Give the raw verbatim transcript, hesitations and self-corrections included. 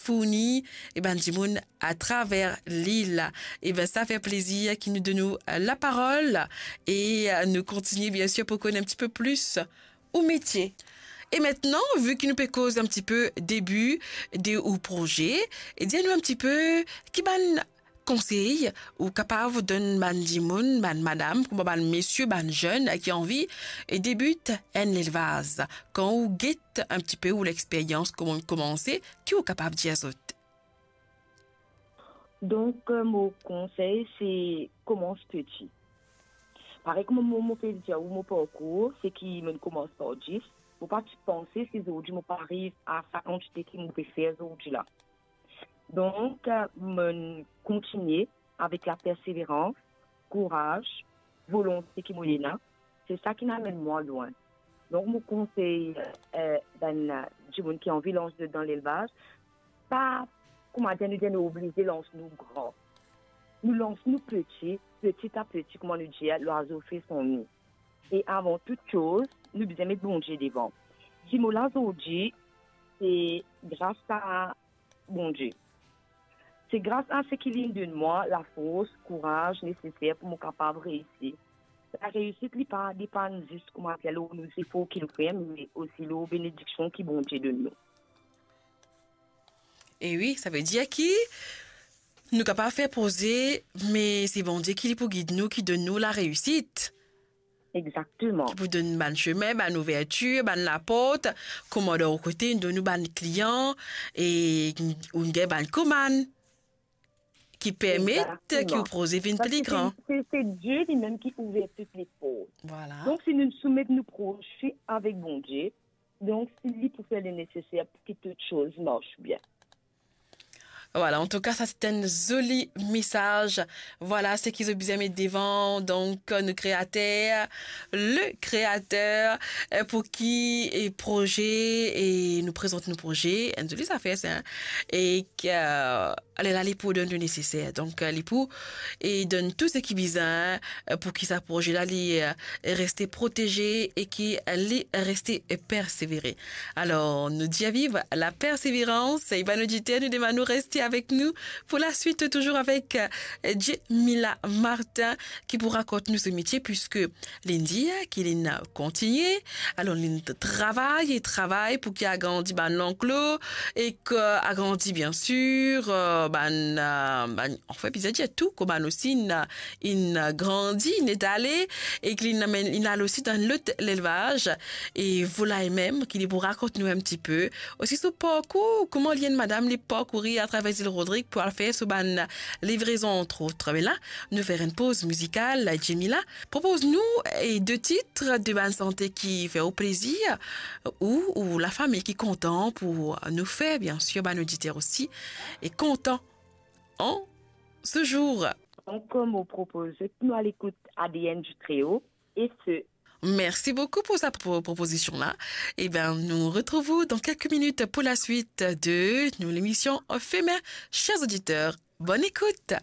fourni, e bann dimoun atraver lil. E ben, sa fer plezir ki nou donn ou, eh, laparol e, eh, nou kontigne, bien sir, pou konn enn tipe plis ou metie. E aster, vi ki nou pe koz enn tipe debi de ou proze, e dir nou enn tipe ki bann konsey ou kapav donn bann dimoun, bann madam, kouma bann mesie, bann zenn ki anvi, eh, debit enn lelvaz. Kan ou get enn tipe ou lexperyans, kouma komanse, ki ou kapav dir zot? Donk, eh, mo konsey, se komans peti. Parey kouma mo, mo pe dir ou mo parkour, se ki mo'nn komans par dis, mo pa ti panse si zordi mo pou ariv a sa kantite ki mo pe fer zordi la. Donk, eh, mo'nn kontigne avek laperseverans, kouraz, volonte ki mo ena. Se sa ki'nn amenn mwa lwin. Donk, mo konsey, eh, bann, eh, dimoun ki anvi lans dan lelvaz, pa, kouma dir, nou dir nou oblize lans nou gran. Nou lans nou peti, peti a peti, kouma nou dir, lwazo fer son ni. E avan tou koze, nou bizin met Bondie devan. Si mo la zordi, se gras a Bondie. Se gras a seki li'nn donn mwa lafors, kouraz neseser pou mo kapav reisi. Lareisit, li pa depann zis, kouma dir, lor nou zefor ki nou fer, me osi lor benediksion ki Bondie donn nou. E wi, savedir ki nou kapav fer proze, me se Bondie ki li pou gid nou, ki donn nou lareisit. Exakteman. Ki pou donn bann sime, bann ouvertir, bann laport, kouma dan ou kote, donn ou bann klian, e ou gagn bann komann ki permet ki ou proze vinn pli gran. Exakteman. Parski se, se, se Die limem ki ouver tou leport. Vwala. Donk, si nou soumet nou proze avek Bondie, donk, si li pou fer le neseser pou ki tou koze mars bien. Vwala, antouka, sa se enn zoli mesaz. Vwala seki zot bizin met devan, donk, nou Kreater, le Kreater, eh, pou ki, eh, proze, e nou prezant nou proze, enn zoli zafer sa, e ki, eh, lerla li pou donn le neseser. Donk, eh, li pou, e donn tou seki bizin, eh, pou ki sa proze la, li, eh, reste proteze e ki li reste persevere. Alor, nou dir viv laperseverans, e bann oditer, nou demann ou reste avek nou pou laswit, touzour avek, eh, Djemila Martin, ki pou rakont nou so metie, piski li'nn dir ki li'nn kontigne, alor li'nn travay e travay pou ki agrandi bann lanklo, e ki agrandi, bien sir, eh, bann, eh, bann, anfin, bizin dir tou, kouma nou osi, inn, inn grandi, inn etale, e ki li'nn amenn, li'nn al osi dan lot lelvaz, e vwala, e mem ki li pou rakont nou enn tipe osi so parkour, kouma li enn madam, li parkouri atraver Zil Rodrig pou al fer so bann livrezon, antrot. Me la, nou fer enn poz mizikal, Djemila, propoz nou, e, de tit de bann sante ki fer ou plezir, ou, ou lafami ki kontan pou nou fer, bien sir, bann oditer osi, e kontan an se zour. Donk, mo propoz nou al ekout A D N du Tréau, e se Mersi boukou pou sa pro-, propozision la. E ben, nou retrouv ou dan kelke minit pou laswit de nou lemision Femen. Ser oditer, bonn ekout.